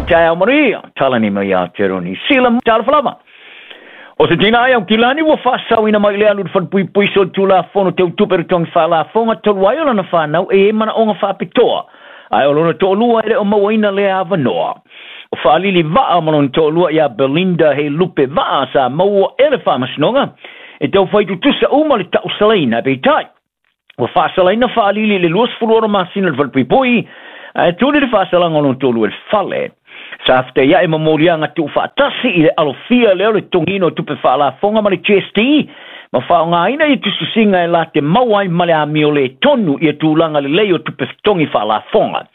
Taeao manuia, talani mai Aotearoa Niu Sila, talofa lava. O se tina ai Aukilani ua faasaoina mai i le alu i le falepuipui solitulafono teutupe totogi faalafoga talu ai o lana fanau e i ai manaoga faapitoa, ae o lona toalua e le o mauaina lea avanoa. O Faalili Vaa ma lona toalua ia Belinda Heilupe Vaa sa maua e le faamasinoga e taufai tutusa uma le tausalaina, peitai ua faasalaina Faalili i le 26 masina i le falepuipui, ae tuli le faasalaga o lona toalua i le fale. Sa fetaiai ma moliaga tuufaatasi i le alofia lea o le totogiina o tupe faalafoga ma le GST, ma faaaogaina ia tusitusiga e la te maua ai ma le amio le tonu ia tulaga lelei o tupe totogi faalafoga.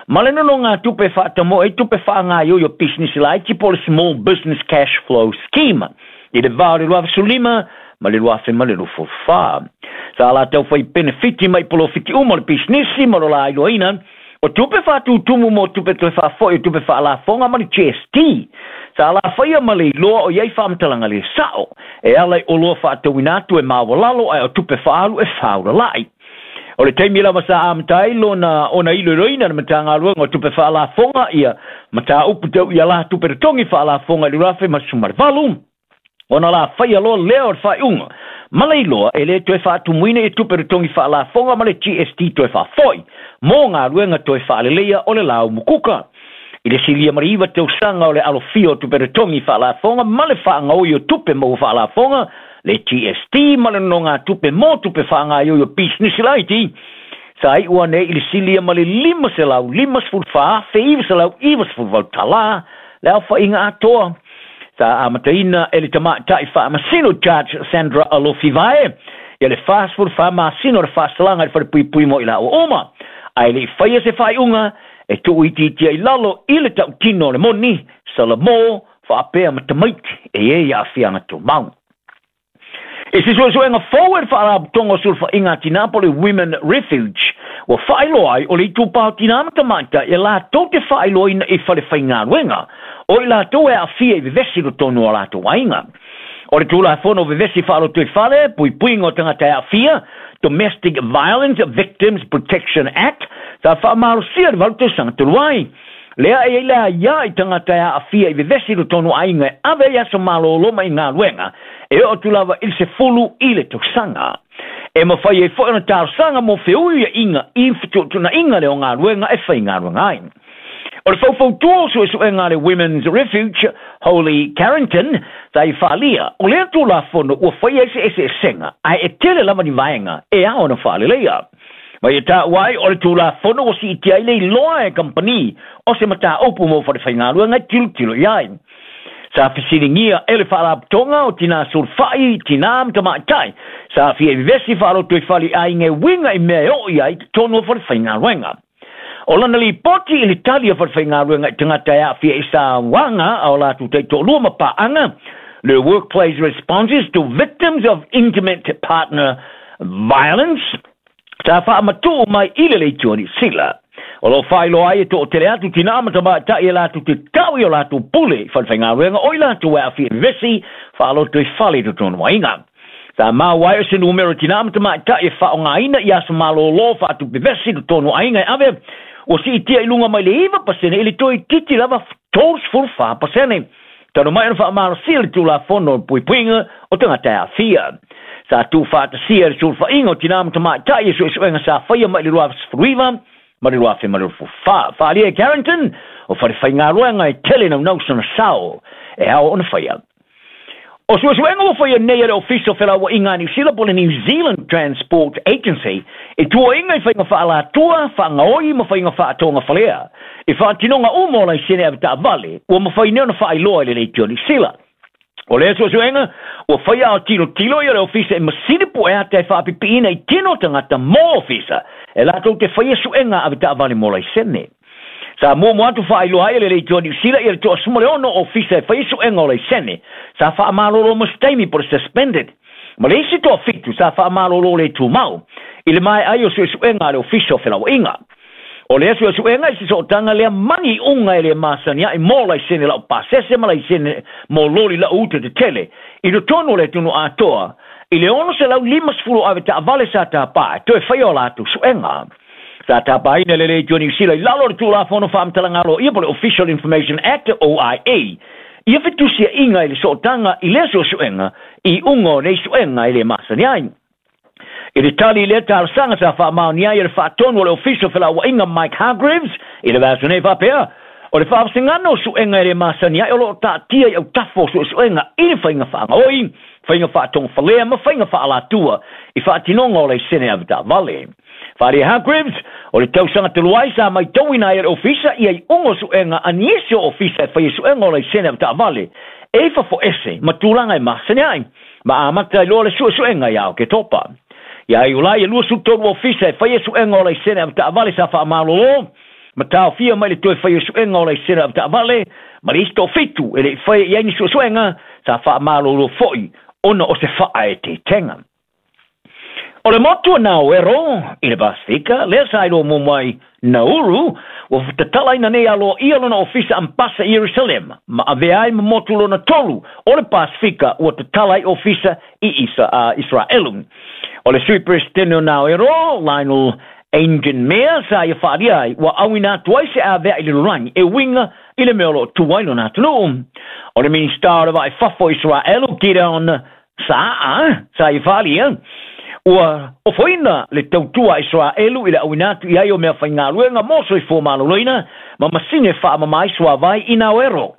Ma le nonogatupe e faatamoe ai tupe faagaioi o pisinisi laiti po o le Small Business Cash Flow Scheme i le va o le 2015 ma le 2024. Sa latou fai penefiti mai polofiti uma o le pisinisi ma lo la iloaina o tupe faatutumu mo tupe toe faafoi o tupe faalafoga ma le GST. Sa la faia ma le iloa o i ai faamatalaga le sao e ala i oloa faatauina atu e maualalo ae o tupe faaalu e faaulala'i. O le taimi lava sa amata ai lona ona iloiloina le Matagaluega o Tupe Faalafoga ia mataupu tau i ala tupe totogi faalafoga i le 2018, ona la faia loa lea o le faaiuga ma le iloa e le toe faatumuina ia tupe totogi faalafoga ma le GST toe faafoi mo galuega toe faaleleia o le laumukuka. I le silia ma le 9 tausaga o le alofia o tupe totogi faalafoga ma le faagaoi o tupe maua faalafoga, le GST ma le nonogatupe mo tupe faagaioi o pisinisi laiti, sa iu ane i le silia ma le $554,998 tala le aofaiga atoa. Sa amataina e le tamaitai faamasino Judge Sandra Alofivae ia le 44 masina o le faasalaga i le falepuipui mo i laua uma, ae le i faia se faaiuga e tuuitiitia i lalo i le tautino o le moni, Salamo faapea ma tamaiti e i ai aafiaga tumau. I se suesuega fou e le Faalapotopotoga o Sulufaiga a Tina po o le Women Refuge, ua faailoa ai o le itupa o tina ma tamaitai e latou te faailoaina i falefaigaluega o i latou e aafia i vevesi i totonu o latou aiga. O le Tulafono o Vevesi Faalotoifale, Puipuiga o Tagata e Aafia, Domestic Violence Victims Protection Act, sa faamalosia i le 8 tausaga talu ai. Lea e i ai le aia i tagata e aafia i vevesi i totonu o aiga e ave ai aso malolo mai galuega e oo atu lava i le 10 i le tausaga. E mafai ai foi ona talosaga mo feuiaiga i fetuutuunaiga lea o galuega e faigaluega ai. O le faufautua o suesuega a le Women's Refuge, Holly Carrington, sa i faaalia, o lea Tulafono ua faia ai se eseesega, ae e tele lava ni vaega e ao ona faaleleia. Ma ia taua ai, o le Tulafono ua siitia ai le iloa e kamupani o se mataupu mo falefaigaluega e tilotilo i ai. Sa fesiligia e le Faalapotopotoga o Tina Sulufai, Tina ma Tamaitai, sa aafia i vevesi faalotoifale i aiga e uiga i mea e oo i ai i totonu o falefaigaluega. O lana lipoti i le tali a falefaigaluega i tagata e aafia i sauaga a o latou taitoalua ma paaga, le Workplace Responses to Victims of Intimate Partner Violence, sa faamatuu mai i le Leitio a Niu Sila. O lo o faailoa ai e toatele atu tina ma tamaitai e latou te tau i o latou pule i falefaigaluega o i latou e aafia i vevesi faalotoifale i totonu o aiga. Sa maua ai o se numera tina ma tamaitai e faaaogaina i aso malolo faatupe vesi i totonu o aiga e ave, ua siitia i luga mai le 9% i le toeitiiti lava 34%. Talu mai ona faamalosia le Tulafono o le Puipuiga o Tagata e Aafia. Sa tuufaatasia e le sulufaiga o tina ma tamaitai e suesuega sa faia mai le 2019 ma le 2024. Faaalia e Carrington, o falefaigaluega e tele naunau sona sao e ao ona faia. O suesuega ua faia nei e le Ofisa o Felauaiga a Niu Sila po o le New Zealand Transport Agency i tuuaiga i faiga faaalatua, faagaoi ma faiga faatogafalea i faatinoga uma o laisene avetaavale ua mafai nei ona faailoa i le Leitio Niu Sila. O lea suesuega ua faia a o tilotilo ia le Ofisa i masini pueata e faapipiina i tino o tagata mo ofisa e latou te faia suega avetaavale mo laisene. Sa muamua atu faailoa ai e le Leitio a Niu Sila ia le 16 ofisa e faia suega o laisene sa faamalolo mo se taimi po o le suspended, ma le isi toafitu sa faamalolo le tumau i le maea ai o suesuega a le Ofisa o Felauaiga. O lea suesuega i se sootaga lea mani iuga e le masani ai mo laisene lau pasese ma laisene mo loli lau uta tetele i totonu o le atunuu atoa i le 650 o avetaavale sa tapaa e toe faia o latou suega. Sa tapaina le Leitu o Niu Sila i lalo o le Tulafono Faamatalaga Aloaia po o le Official Information Act, OIA, ia fetusiaiga i le sootaga i lea suesuega i iuga o nei suega e le masani ai. I le tali i lea talosaga sa faamaonia ai e le Faatonu o le Ofisa o Felauaiga Mike Hargreaves i le vaiaso nei faapea, o le faavasegana o suega e le masani ai o lo o taatia i autafa o suesuega i le faiga faagaoi, faiga faatogafalea ma faiga faalatua i faatinoga o laisene avetaavale. Faaalia Hargreaves, o le tausaga talu ai sa maitauina ai e le Ofisa ia iuga o suega a nisi o Ofisa e faia suega o laisene avetaavale e i fafo ese ma tulaga e masani ai, ma amata ai loa le suesuega ia Oketopa. Ia Iulai e 23 Ofisa e faia suega o laisene avetaavale sa faamalolo ma taofia mai le toe faia suega o laisene avetaavale, ma le isi toafitu e le i faia i ai ni suesuega sa faamalolo foi ona o se faaeteetega. O le motu o Naoero i le Pasifika, lea sa iloa muamua ai Nauru, ua tatalaina nei aloaia lona ofisa ambasa i Ierusalema, ma avea ai ma motu lona tolu o le Pasifika ua tatala ai ofisa i Israelu. O le Sui Peresetene o Naoero, Lionel Aingimea, sa ia faaalia ai ua auina atu ai se avea i le lalolagi e uiga i le mea o lo o tu ai lona atunuu. O le Minista o le Vaa i Fafo o Israelu, Gideon Sa'a, sa ia faaalia ua ofoina le tautua a Israelu i le auina atu i ai o mea faigaluega mo soifua maloloina ma masini e faamama ai suavai i Naoero.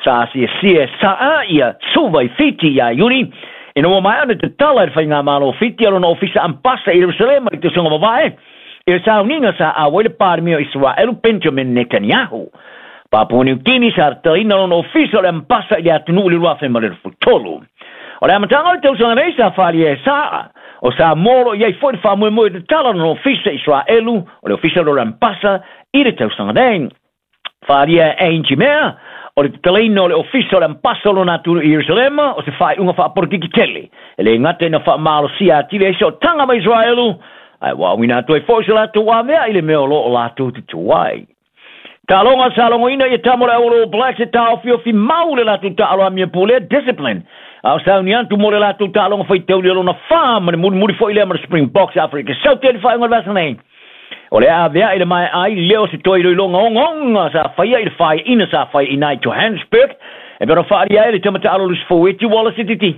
Sa asiasia e Sa'a ia Suva i Fiti ia Iuni, ina ua maea ona tatala e le Faigamalo o Fiti a lona ofisa ambasa i Ierusalema i le tausaga mavae, i le sauniga sa auai le Palemia o Israelu Benjamin Netanyahu. Papua Niu Kini sa tatalaina lona ofisa o le ambasa i le atunuu i le 2023. O le amataga o le tausaga nei sa faaalia e Sa'a, o Samoa o lo o i ai foi le faamoemoe e tatala lona ofisa i Israelu, o le ofisa o le ambasa i le tausaga nei. Faaalia e Aingimea, o le tatalaina o le ofisa o le ambasa o lona atunuu i Ierusalema, o se faaiuga faapolokiki tele, e le gata ina faamalosia atili ai sootaga ma Israelu, ae ua auina atu ai foi se latou avea i le mea o lo o latou tutu ai. Taaloga sa logoina ia tama o le All Blacks e taofiofi mau le latou taalo amia pulea, discipline, a o sauni atu mo le latou taaloga faitaulia lona fa ma le mulimuli foi lea ma le Springboks Afrika Saute i le faaiuga o le vaiaso nei. O le a avea'i le maea ai lea o se toe iloiloga ogaoga sa faia i le faaiaina sa faiaina ai Johannesburg e pei ona faaalia ai le tama taalo Lusi Foueti Wallace Titi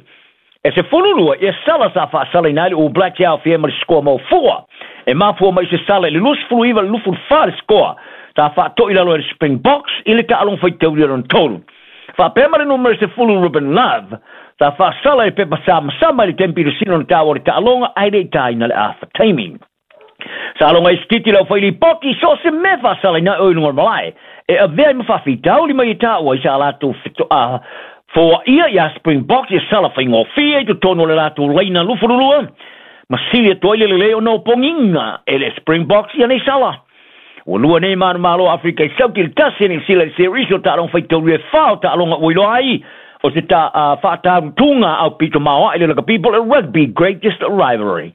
e 12 ia sala sa faasalaina ai le All Blacks e aofia ai ma le sikoa maofua e mafua mai se sala i le 29 i le 24 le sikoa sa faatoi lalo ai le Springboks i le taaloga faitaulia lona tolu. Faapea ma le numera 10 Ruben Love sa faasala i le pepa samasama i le taimi pilosina o le taua o le taaloga ae le i taina le afa taimi. Sa loga ai Sititi lau fai lipoti so o se mea faasalaina ai oe i luga o le malae e avea ai ma faafitauli mai e taua i sa latou fetoa foaia iā Springboks ia sala faigofie i totonu o le latou laina 22 ma sili atu ai le lelei ona o pogiga e le Springboks ia nei sala. Ua lua nei manumalo o Afrika i Sauti i le tasi e Niu Sila i le series o taaloga faitaulia e fa o taaloga ua iloa ai o se faatarutuga aupito maoae i le lakapi po o le Rugby Greatest Rivalry.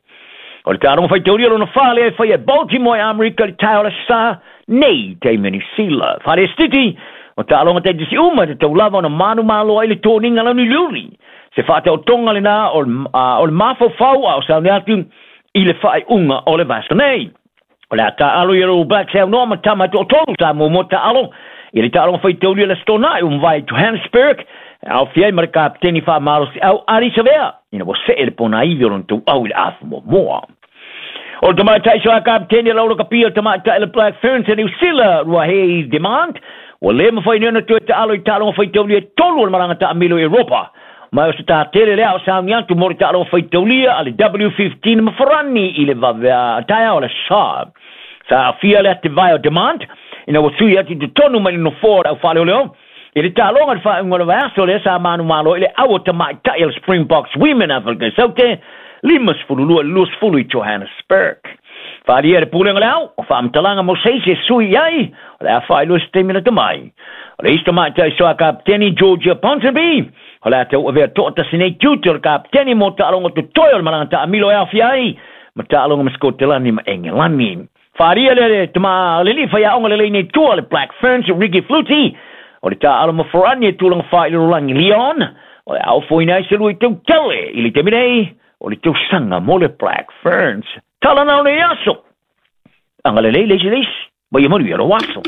O le taaloga faitaulia lona fa lea e faia e Baltimore i Amerika i le taeao le Aso Sa nei taimi o Niu Sila. Falestiti, o taaloga taitasi uma e tatau lava ona manumalo ai le toniga launiuliuli. Se faataotoga lena o le mafaufau a o sauni atu i le faaiuga o le vaiaso nei. O le a taaalo i All Blacks e aunoa ma tama e toatolu sa muamua taaalo i le taaloga faitaulia i le Aso Toonai ua mavae i Johannesburg e aofia ai ma le kapeteni faamalosiau Ardie Savea ina ua see le ponaivi o lona tauau i le afu muamua. O le tamaitai soa kapeteni a le Aulakapia o le tamaitai le Black Ferns e Niu Sila Ruahei Demant ua le mafai nei ona toe taalo i taaloga faitaulia e tolu o le malaga taamilo i Europa Ma o se tā tele lea o sauni atu mo le taaloga faitaulia a le W15 ma Farani i le vave taeao o le Aso Sa. Sa aafia le atevae o Demant ina ua sui atu i totonu mai le nofoa o le au faaleoleo i le taaloga i le faaiuga o le vaiaso lea sa manumalo i le au o tamaitai a le Springboks Women Afrika Saute 52 i le 20 i Johannesburg. Faaalia e le Pulega o le Au o faamatalaga mo se isi e sui i ai o le a faailoa se taimi lata mai. O le isi tamaitai soa kapeteni Georgia Ponsonby O le a tauavea toatasi nei tiute o le kapeteni mo taaloga totoe o le malaga taamilo e aofia ai ma taaloga ma Sikotelani ma Engelani. Faaalia le le tama le alii faiaoga lelei nei tua le Black Ferns Ricky Flutie o le taaalo ma Forani e tulaga fa i le lalolagi Leon o le a ofoina ai se lua i tautele i le taimi nei o le tausaga mo le Black Ferns. Tala na o nei aso! Agalelei le isi le isi, ma ia manuia lou aso.